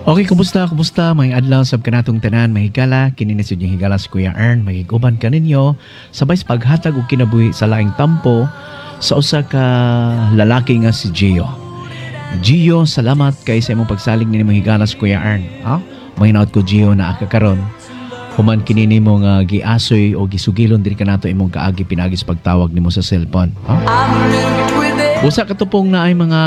Okay, kumusta, kumusta? May adlaw sab kanatong tanan, may higala, kini na sa higala si Kuya Ern, magiguban kaninyo sabay sa paghatag og kinabuhi sa laing tampo sa usa ka lalaki nga si Gio. Gio, salamat kay sa imong pagsalig ni imong higala si Kuya Ern. Ha? Mahinaot ko, Gio, na ka karon. Human kini nimo nga giasoy o gisugilon diri kanato imong kaagi pinagi sa pagtawag nimo sa cellphone. Ha? Usa ka tupong na ay mga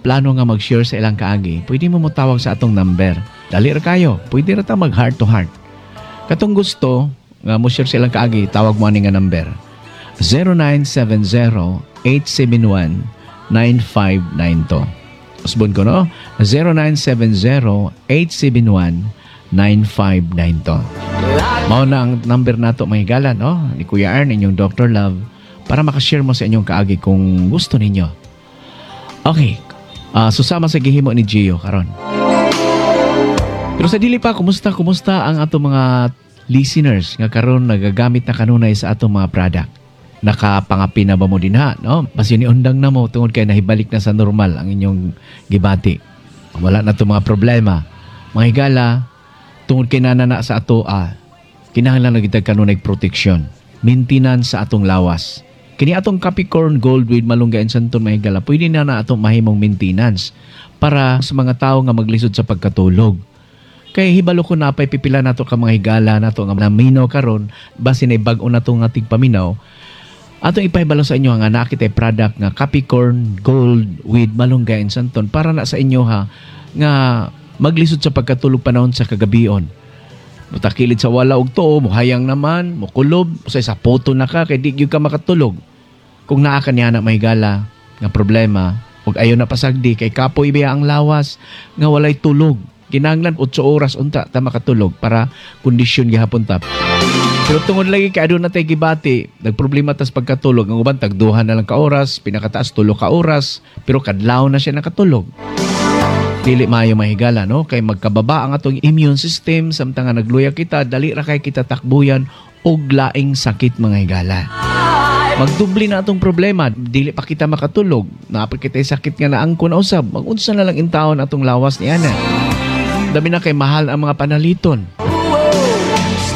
plano nga mag-share sa ilang kaagi, pwede mo motawag sa atong number. Dali ra kayo. Pwede ra ta mag heart to heart. Katong gusto nga mo share sa ilang kaagi, tawag mo ani nga number. 0970-871-9592. Usbon ko, no? 0970-871-9592. Mao na ang number nato, mga higala, no? Ni Kuya Ern, inyong Dr. Love, para makashare mo sa inyong kaagi kung gusto ninyo. Okay. Susama sa gihimo ni Gio karon. Pero sa dili pa, kumusta, kumusta ang atong mga listeners nga karon nagagamit na kanunay sa atong mga product? Nakapangapi na ba mo dinha, no? Basin undang na mo tungod kay nahibalik na sa normal ang inyong gibati. Wala na itong mga problema. Mga higala, tungod kay nanana sa ato, kinahanglan na kita kanunay protection. Maintenance sa atong lawas. Kini atong Capricorn Gold with Malunggay and Santon, mga higala, pwede na na atong mahimong maintenance para sa mga tao nga maglisod sa pagkatulog. Kay hibalo ko na pay pipila nato ka mga higala nato nga naminaw karon, basin ay bag-o na tong ating paminaw. Atong ipahibalo sa inyo nga naa kitay product nga Capricorn Gold with Malunggay and Santon para na sa inyo ha nga maglisod sa pagkatulog panahon sa kagabion. Mutakilid sa wala og tuo, muhayang naman, mukulob, usay sa poto na ka kay di gyud ka makatulog. Kung naa ka niya na may gala nga problema ug ayo na pasagdi kay kapoy biya ang lawas nga walay tulog. Kinahanglan 8 oras unta ta makatulog para kondisyon gihapon ta. Pero tungod lagi kay aduna tay gibati, nagproblema tas pagkatulog. Ang uban tagduha na lang ka oras, pinakataas 3 ka oras, pero kadlaw na siya nakatulog. Dili maayo, mahigala, no? Kay magkababa ang atong immune system samtang nga nagluya kita, dali ra kay kita takbuyan og laing sakit, mga higala. Magdubli na atong problema, dili pa kita makatulog, naa pa kita sakit nga naangkon na usab, magunsa na lang intawon atong lawas ni ana. Dami na kay mahal ang mga panaliton.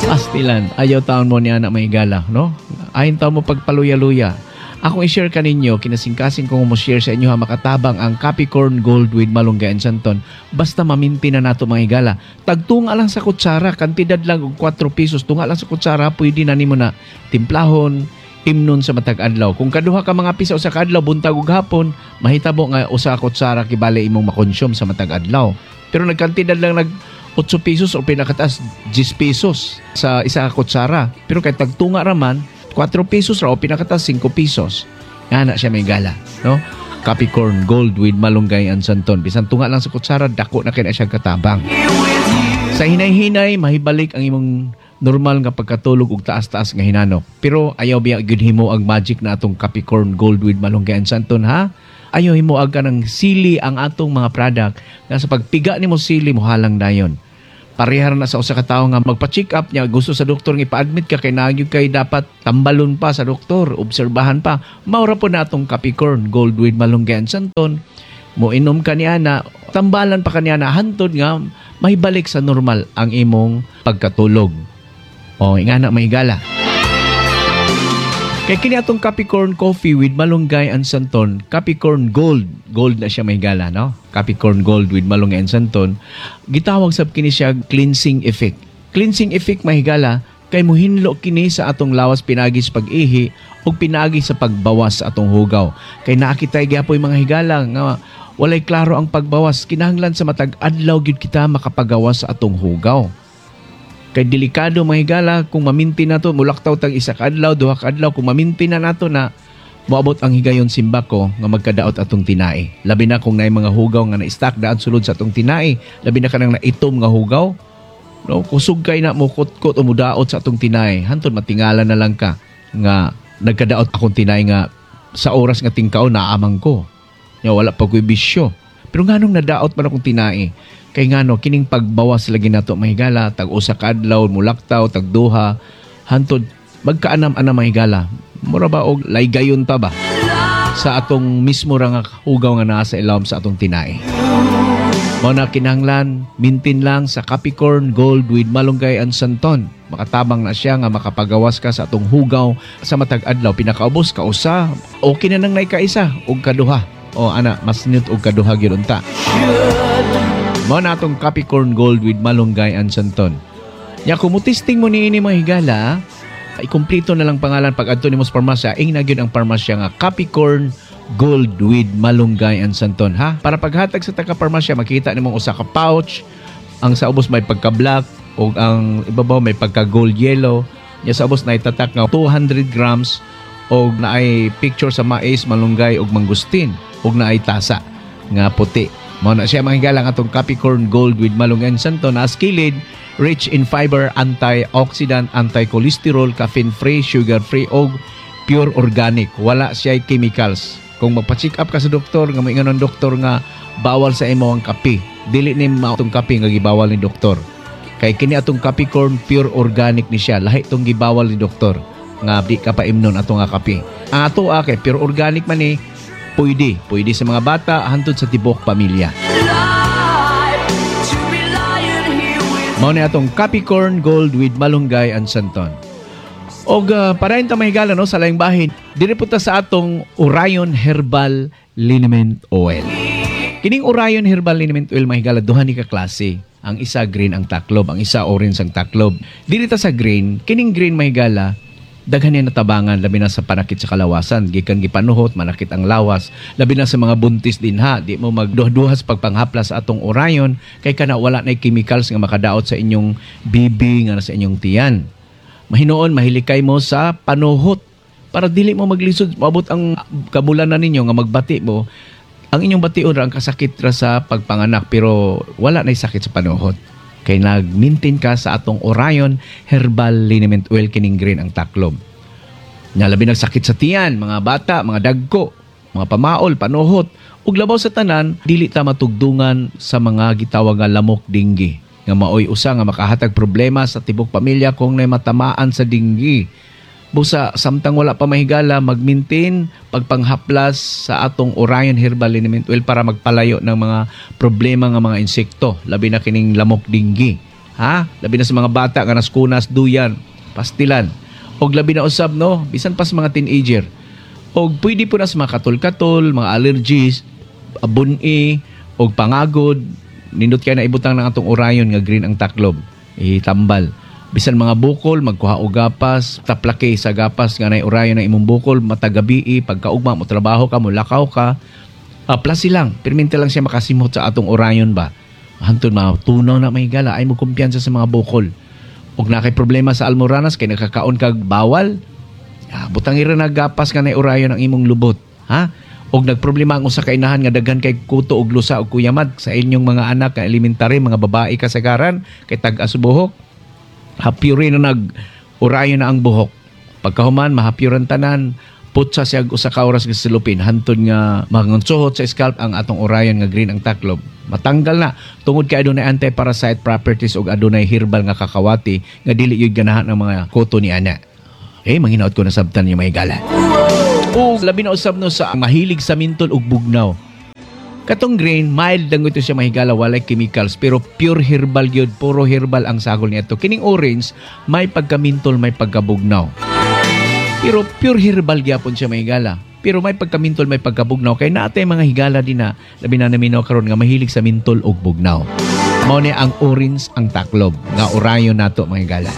Astilan, ayaw taon mo ni ana, mahigala, no? Ayon taon mo pagpaluya-luya. Akong i-share kaninyo, kinasingkasing kong mo share sa inyo ha, makatabang ang Capricorn Gold with Malunggay and Santon. Basta maminti na nato, mga higala. Tagtunga lang sa kutsara, kantidad lang og 4 pesos, tunga lang sa kutsara, pwede na nimo na timplahon, imnon sa matag adlaw. Kung kaduha ka mga pisa usa ka adlaw, buntag ug hapon, mahitabo nga usa ka kutsara kibali imong makonsume sa matag adlaw. Pero nagkantidad lang nag 8 pesos o pinakataas 10 pesos sa isa ka kutsara. Pero kay tagtunga raman, 4 pesos ra o pinakataas 5 pesos. Nga na siya, may gala, no? Capricorn Gold with Malunggay and Santon. Bisan tunga lang sa kutsara, dako na kay na siya katabang. Sa hinay-hinay, mahibalik ang imong normal nga pagkatulog ug taas-taas nga hinanok. Pero ayaw biya gyud himo ang magic na atong Capricorn Gold with Malunggay and Santon, ha. Ayaw himo ang kanang sili ang atong mga product nga sa pagpiga nimo sili mo halang dayon. Parehar na sa usa ka tawo nga magpa-check up niya, gusto sa doktor nga ipa-admit ka kay nagyud kay dapat tambalon pa sa doktor, obserbahan pa. Maura po na atong Capricorn Gold with Malunggay and Santon. Mo inom ka niya na, tambalan pa kaniya na hantod nga mahibalik sa normal ang imong pagkatulog. O, ingana, mahigala. Kay kini atong Capricorn Coffee with Malunggay and Santon, Capricorn Gold, gold na siya, mahigala, no? Capricorn Gold with Malunggay and Santon, gitawag sab kini siya cleansing effect. Cleansing effect, mahigala, kay muhinlo kini sa atong lawas pinagi sa pag-ihi ug pinagi sa pagbawas sa atong hugaw. Kay naa kitay gyapoy mga higala nga walay klaro ang pagbawas, kinahanglan sa matag adlaw gyud kita makapagawas sa atong hugaw. Kay delikado, mga higala, kung maminti na to, mulaktaw tag isa ka adlaw, duha ka adlaw, kung maminti na nato na moabot ang higayon simbako nga magkadaot atong tinai. Labi na kung naay mga hugaw nga na-stack daan sulod sa atong tinai, labi na kanang naitom nga hugaw. No, kusog kay na mo kutkot o mudaot sa atong tinai. Hantod matingala na lang ka nga nagkadaot akong tinai nga sa oras nga tingkaon naamang ko. Nya wala pa ko'y bisyo. Pero nganong nadaot man akong tinai? Kay ngano kining pagbawas lagi nato, mahigala, tag usa ka adlaw mulaktaw, tag duha, hantod magkaanam-anam, mahigala. Mura ba og laygayon pa ba sa atong mismo ra nga hugaw nga naa sa ilawom sa atong tinai. Mao na kinahanglan, maintain lang sa Capricorn Gold with Malunggay and Santon. Makatabang na siya nga makapagawas ka sa atong hugaw sa matag adlaw. Pinakaubos kausa, okay na nang naikaisa og kaduha. O ana, mas nindot og kaduha gyud unta. Mao na atong Capricorn Gold with Malunggay and Santon. Nya kung mo-testing mo niini, mga higala, ikumpleto na lang pangalan pag adto nimo sa parmasya, ingna gyud ang parmasya nga Capricorn Gold with Malunggay and Santon, ha? Para paghatag sa taga parmasya, makita nimong usa ka pouch, ang sa ubos may pagka-black ug ang ibabaw may pagka-gold yellow. Nya sa ubos na itatak nga 200 grams og naay picture sa mais, malunggay ug mangustin ug naay tasa nga puti. Mao na siya, mga higala, ang atong Capricorn Gold with Malunggay and Santon na skilid, rich in fiber, antioxidant, anti-cholesterol, caffeine-free, sugar-free og pure organic. Wala siya chemicals. Kung magpa-check up ka sa doktor nga moingon ang doktor nga bawal sa imo ang kape, dili ni mao atong kape nga gibawal ni doktor. Kay kini atong Capricorn, pure organic ni siya. Lahi tong gibawal ni doktor nga di ka paimnon ato nga kape. Ang ato kay pure organic man ni, pwede. Pwede sa mga bata hantod sa tibok pamilya. Mao ni atong Capricorn Gold with Malunggay and Santon. Og padayon ta, mga higala, no, sa laing bahin, diri po ta sa atong Orion Herbal Liniment Oil. Kining Orion Herbal Liniment Oil, mga higala, duha ni ka klase. Ang isa green ang taklob, ang isa orange ang taklob. Diri ta sa green, kining green, mga higala, daghan niya natabangan labi na sa panakit sa kalawasan, gikan gipanuhot manakit ang lawas, labi na sa mga buntis din ha. Di mo magduha-duha sa pagpanghaplas sa atong Orion kay kana wala na chemicals nga makadaot sa inyong bibi nga sa inyong tiyan. Mahinoon mahilikay mo sa panuhot para dili mo maglisod maabot ang kabulanan ninyo nga magbati mo, ang inyong bation ra ang kasakit ra sa pagpanganak, pero wala na sakit sa panuhot kay nag-maintain ka sa atong Orion Herbal Liniment Oil, kining green ang taklob. Nga labi nagsakit sa tiyan, mga bata, mga dagko, mga pamaol, panuhot, ug labaw sa tanan, dili ta matugdungan sa mga gitawag nga lamok dinggi nga maoy usa nga makahatag problema sa tibok pamilya kung nay matamaan sa dinggi. Busa samtang wala pa, mahigala, mag-maintain pagpanghaplas sa atong Orion Herbal Liniment Oil para magpalayo ng mga problema nga mga insekto, labi na kining lamok dinggi. Ha? Labi na sa mga bata nga naskunas, duyan, pastilan. Og labi na usab, no, bisan pa sa mga teenager. Og pwede po na sa mga katol-katol, mga allergies, buni, og pangagod, nindot kay na ibutang ng atong Orion nga green ang taklob. Itambal. Bisan mga bukol, magkuha og gapas, taplake sa gapas nga nay Orion na imong bukol, matagabii, pagkaugma mo trabaho ka, mo lakaw ka, plasi lang, perminti lang siya makasimhot sa atong Orion ba. Hantod matunaw na, mga higala, ay mo kumpiyansa sa mga bukol. Og na kay problema sa almoranas kay nakakaon kag bawal, butang ira na gapas nga nay Orion ang imong lubot, ha? Og nagproblema ang usa ka inahan nga daghan kay kuto og lusa og kuyamad sa inyong mga anak nga elementary, mga babae kasagaran kay tag-as buhok. Hapyuri na nag Orion na ang buhok. Pagkahuman mahapyuran tanan, putsa siya og usa ka oras nga silupin hantod nga mangunsuhot sa scalp ang atong Orion nga green ang taklob. Matanggal na tungod kay adunay anti-parasite properties ug adunay herbal nga kakawati nga dili gyud ganahan ng mga kuto ni ana. Eh, manghinaot ko nasabtan niyo, mga higala. O labi na usab, no, sa mahilig sa mintol ug bugnaw. Katong green, mild lang ito siya, mga higala, walay chemicals, pero pure herbal gyud, puro herbal ang sagol nito. Kining orange, may pagkamintol, may pagkabugnaw. Pero pure herbal gyapon siya, mga higala. Pero may pagkamintol, may pagkabugnaw. Kay naatay mga higala din na, labi na naminaw karon nga mahilig sa mintol ug bugnaw. Mao ni ang orange ang taklob nga Orion nato, mga higala.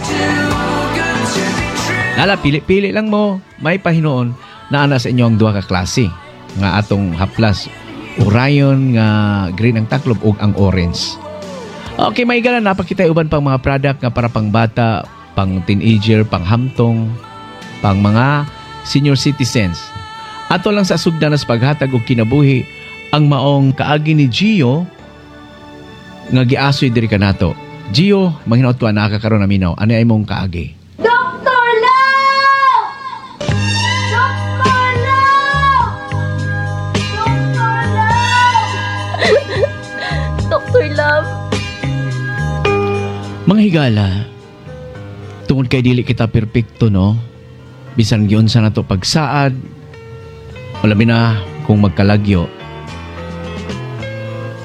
Nala, pili-pili lang mo. May pahinuon na ana sa inyo ang duha ka klase nga atong haplas. Orion nga green ang taklob ug ang orange. Okay, mga higala, napakita uban pang mga product nga para pang bata, pang teenager, pang hamtong, pang mga senior citizens. Ato lang sa sugdan sa paghatag og kinabuhi ang maong kaagi ni Gio nga giasoy diri kanato. Gio, manghinaot ko anaa ka karon naminaw. Ano ay imong kaagi? Dr. Love! Dr. Love! Dr. Love! Dr. Love! Mga higala, tungod kay dili kita perpekto, no? Bisan giunsa nato pagsaad, o labi na kung magkalagyo.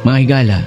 Mga higala,